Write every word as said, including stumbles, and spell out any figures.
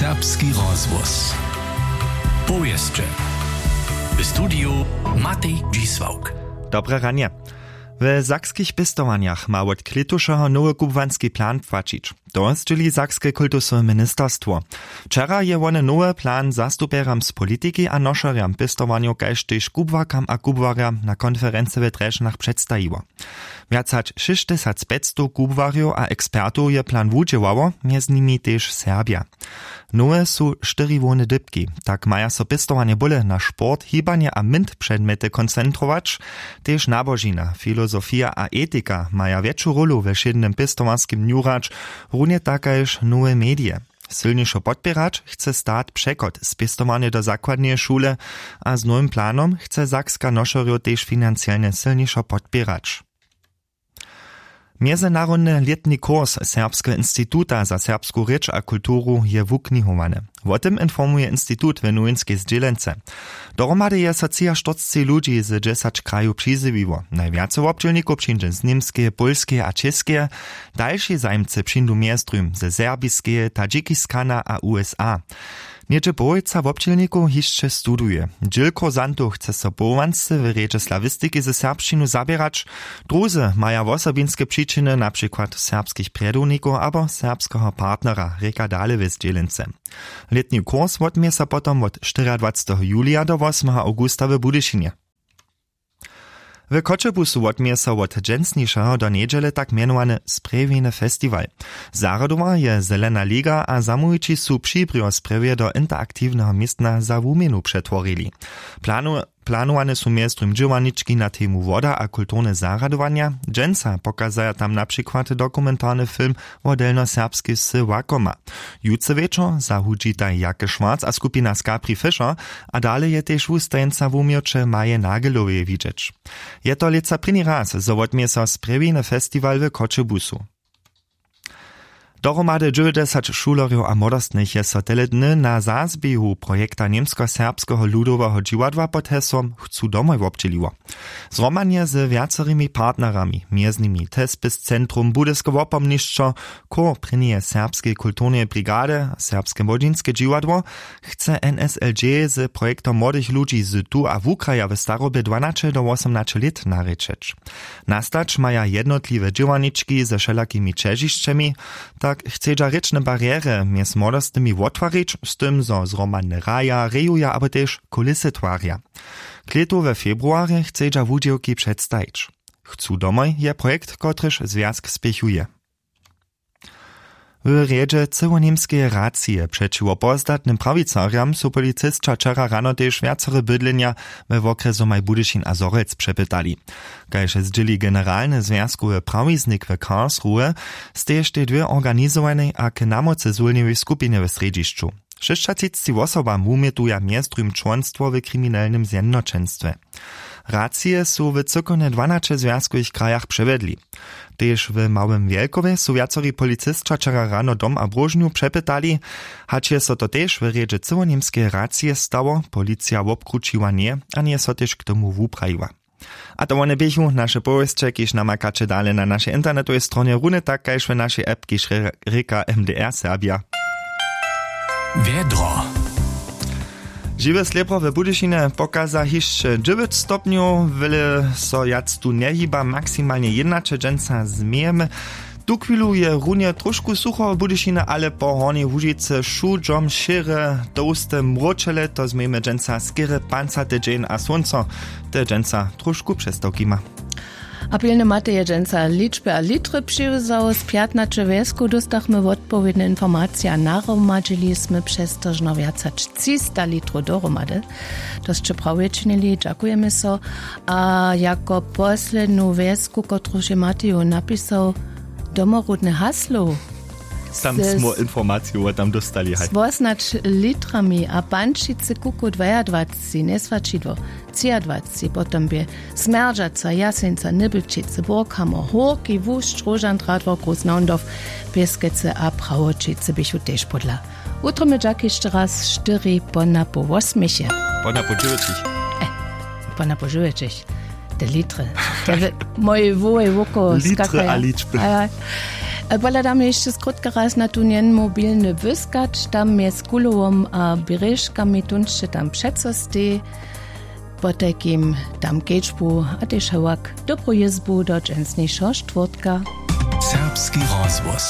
Serbski rozhłos. Powěsće. W studiju Matej Dźisławk. Dobre ranje. We sakskich pěstowanjach ma wot klětušeho nowy kubłanski plan płaćić. To zdźěli sakske kultusowe ministerstwo. Wčera je wone nowy plan zastupjerjam z politiki a nošerjam pěstowanjow kaž tež kubłarkam a kubłarjam na konferency we drježdźanach předstajiło. Wjac hač šěsćtysacpjećstow kubłarjow a ekspertow je plan wudźěłało, mjez nimi tež Serbja. Nowe su štyri hłowne dypki. Tak maja so pěstowanje bóle na sport, hibanje a mynt předmjety koncentrować. Tež nabožina, filozofija a etika maja wjetšu rólu we wšědnym pěstowarskim dnju hrać, runje tak kaž nowe medije. Sylnišo podpěrać chce stat přechod z pěstowarnje do zakładneje šule a z nowym planom chce sakska nošerjow tež financielnje sylnišo podpěrać. Mjezynarodny lětni kurs Serbskeho instituta za serbsku rěč a kulturu je wuknihowany. Wo tym informuje institut w nowinskej zdźělence. Dohromady je so třiaštyrceći ludźi z dźesać krajow přizjewiło. Najwjace wobdźělnikow přińdźe z Němskeje, Pólskeje a Čěskeje. Dalši zajimcy přińdu mjez druhim ze Serbiskeje, Tadžikistana a U S A. Něhdźe połojca wobdźělnikow hišće studuje. Dźěl kursantow chce so powołansce w rjedźe slawistiki ze serbšćinu zaběrać. Druzy maja wosobinske přičiny, na přikład serbskich prjedownikow abo serbskeho partnera, rěka dale w zdźělence. Lětni kurs wotměje so potom wot štyriadwaceteho julija do wosmeho awgusta w Budyšinje. W Choćebuzu wotměje so wot dźensnišeho do njedźele tak mjenowany sprjewjeny festiwal. Zarjadowar je Zelena liga a zamołwići su přibrjo sprjewje do interaktiwneho městna za wuměnu přetworili. Planu Planowane su mjez druhim dźěłarnički na temu woda a kulturne zarjadowanja. Dźensa pokazaja tam na přikład dokumentarny film wo delnjoserbskej wsy Łakoma. Jutře wječor zahudźitaj Jake Schwarz a skupina Skapri Fischer. A dale je tež wustajeńca wuměłće Maje Nageloweje widźeć. Je to lětsa prěni raz, zo wotměje so sprjewjeny festiwal w Choćebuzu. Dohromady dźewjećdźesać šulerjow a młodostnych je so tele dny na zazběhu projekta němskoserbskeho ludoweho dźiwadła pod hesłom Chcu domoj wobdźěliło. Zhromadnje z wjacerymi partnerami, mjez nimi Tespis Centrum, Budyske wopomnišćo, chór prěnjeje serbskeje kulturneje brigady, serbske młodźinske dźiwadło, chce N S L J z projektom młodych ludźi z tu a wukraja w starobje dwanaće do wosomnaće lět narěčeć. Nastać maja jednotliwe dźěłarnički ze wšelakimi ćežišćemi. Tak chcedźa rěčne barjery mjez młodostnymi wottwarić, z tym zo zhromadne hraja, rejuja abo tež kulisy twarja. Klětu we februarje chcedźa wudźěłki předstajić. Chcu domoj je projekt, kotryž zwjazk spěchuje. W rjedźe cyłoněmskeje racije přećiwo pozdatnym prawicarjam su policisća wčera rano tež wjacore bydlenja we wokrjesomaj Budyšin a Zhorjelc přepytali. Kaž zdźěli generalny zwjazkowy prawiznik w Karlsruhe, steještej dwě organizowanej a k namóce zwólniłej skupinje w srjedźišću. Šěsćatřiceći wosobam wumjetuja mjez druhim čłonstwo w kriminelnym zjednoćenstwje. Racije su w cykownje dwanaće zwjazkowych krajach přewjedli. Tež w Małym Wjelkowje su wjacori policisća wčera rano dom a bróžnju přepytali. Hač je so to tež w rjedźe cyłoněmskeje racije stało, policija wobkrućiła njeje a njeje so tež k tomu wuprajiła. A to wone běchu naše powěsće, kiž namakaće dale na našej internetowej stronje, runje tak kaž w našej app, kiž rěka M D R Serbja. Wjedro. Žiwe slěpro w Budyšinje pokaza hišće dźewjeć stopnjow, wjele so wjac tu njehiba, maksimalnje jědnaće, dźensa změjemy. Tuchwilu je runje tróšku sucho w Budyšinje, ale po Hornjej Łužicy wšudźom šěre, tołste mróčele, to změjemy dźensa skerje pancate dźeń a słónco te dźensa tróšku přestawki ma. A pilny Matej je dźensa ličby a litry přiwzał. Z pjatnaće wjeskow dóstachmy wotpowědne informacije a nahromadźili smy přez to žno wjac hač třista litrow dohromady. To sće prawje činili, dźakujemy so. A jako poslednu wjesku, kotruž je Mateju napisał, domoródne haslo. Tam smo informacije tam dóstali, haj. Z wosnać litrami a pančicy kuku dwajadwaceći, njeswaćidło, třiadwaceći, potom bě Smjerdźaca, Jaseńca, Nybylčicy, Borkhammer, Hórki, Wust, Róžan, Radwork, Groß Naundorf, Pěskecy a Prawoćicy běchu tež podla. Wutrobny dźak hišće raz, štyri po napoł wosměch je. Po napoł dźewjećich. E, po napoł dźewjećich. Te litry. Te w-, moje wołej wokoło litry skakaja. A ličby. A ja, Pohladamy hišće skrótka raz na tu njenmobilny wyskad tam mjez kulowom a běrježkami tón sće tam přeco stej. Potajkim tam kedźbu a tež hewak dobru jězbu do dźensnišeho štwórtka. Serbski rozhłos.